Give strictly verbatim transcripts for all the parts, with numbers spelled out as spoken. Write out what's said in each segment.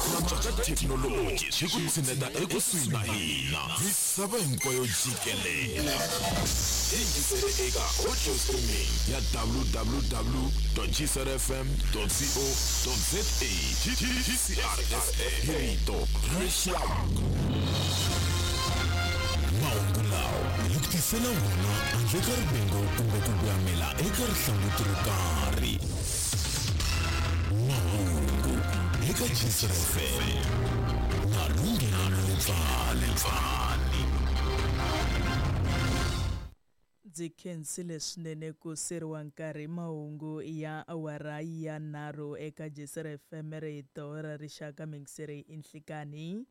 Cinca ka thekinoloji swi ku tshineta ekusuhi na hina misava hinkwayo jikelele. Yingisele eka audio streaming ya w w w dot g c r f m dot co dot za. G C R F M, hi rito ra rixaka. Mahungu lawa hi ku tisela wona handle ka rivengo kumbe ku voyamela eka rihlanguti ro karhi. Mahungu eka G C R F M na Lunghelo Lepfani. Ndzi khensile swinene ku siriwa nkarhi. Mahungu ya awara ya nharhu eka J C R F M, rito ra rixaka. Mingiseri inhlikani.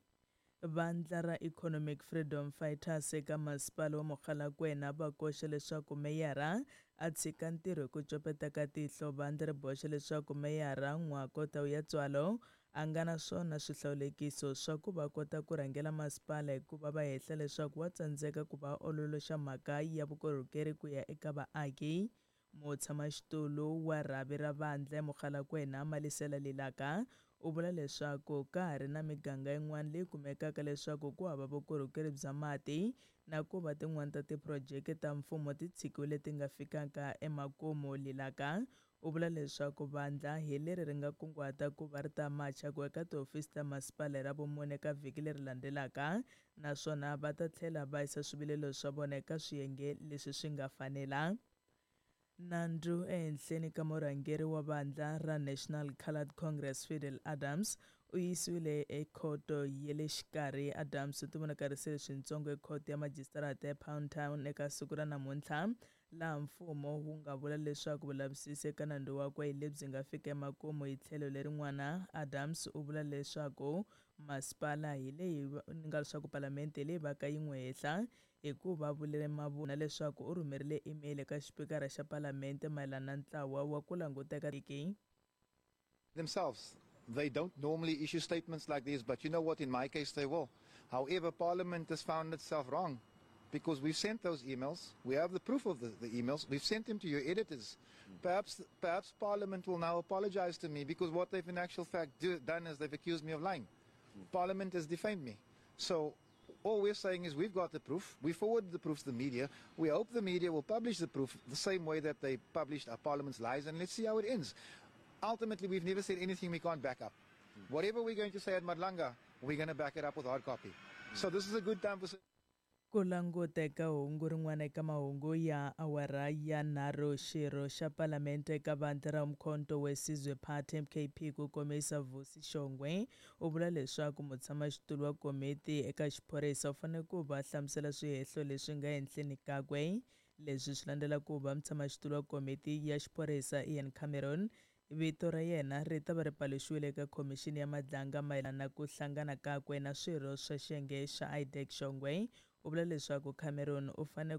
Vandla ra Economic Freedom Fighters eka masipala wa Mogalakwena va koxa leswaku meyara a tshika ntirho hi ku copeta ka tihlo. Vandla ri boxa leswaku meyara Ngoako Taueatsoalo a nga na swona swihlawulekiso swa ku va kota ku rhangela masipala, hikuva va hehla leswaku wa tsandzeka ku va ololoxa mhaka ya vukorhokeri ku ya eka vaaki. Mutshamaxitulu wa rhavi ra vandla eMogalakwena, Malisela Lilaka, u vula leswaku ka ha ri na miganga yin'wana leyi kumekaka leswaku ku hava vukorhokeri bya mati na ku va tin'wana ta tiphurojeke ta mfumo ti tshikiwile ti nga fikaka emakumu. Lilaka u vula leswaku vandla hi leri ri nga kunguhata ku va ri ta macha ku eka tihofisi ta masipala hi Ravumune ka vhiki leri landzelaka, naswona va ta tlhela va yisa swivilelo swa vona eka swiyenge leswi swi nga fanela. Nandzu ehenhleni ka murhangeri wa vandla ra National Coloured Congress, Fidel Adams, u yisiwile ekhoto ya le xikarhi. Adams u tivonakarisile swintsongo ekhoto ya majisitarata ePinetown eka siku ra namuntlha, laha mfumo wu nga vula leswaku vulavisisi eka nandzu wakwe hi lebyi nga fika emakumu. Hi tlhelo lerin'wana, Adams u vula leswaku masipala hi leyi nga leswaku palamende leyi va ka yi n'wi hehla hikuva vulele mavunwa leswaku u rhumerile email eka xipikara xa palamente mayelana na ntlawa wa ku languteka tiki. Themselves. They don't normally issue statements like these, but you know what? In my case, they will. However, Parliament has found itself wrong because we've sent those emails. We have the proof of the, the emails. We've sent them to your editors. Perhaps, perhaps Parliament will now apologize to me because what they've in actual fact do, done is they've accused me of lying. Parliament has defamed me. So all we're saying is we've got the proof. We forwarded the proof to the media. We hope the media will publish the proof the same way that they published our Parliament's lies, and let's see how it ends. Ultimately, we've never said anything we can't back up. Whatever we're going to say at Madlanga, we're going to back it up with hard copy. So this is a good time for Ku languta eka hungu rin'wana eka mahungu ya awara ya nharhu. Xirho xa palamente eka vandla ra Umkhonto weSizwe Party, M K P, ku komisa Vusi Shongwe, u vula leswaku mutshamaxitulu wa komiti eka xiphorisa u fanele ku va hlamusela swihehlo leswi nga ehenhleni kakwe. Leswi swi landzela ku va mutshamaxitulu wa komiti ya xiphorisa, Ian Cameron, vito ra yena ri ta va ri paluxiwile eka khomixini ya Madlanga mayelana na ku hlangana kakwe na swirho swa xiyenge xa IDAC. Shongwe u vula leswaku Cameron u fanele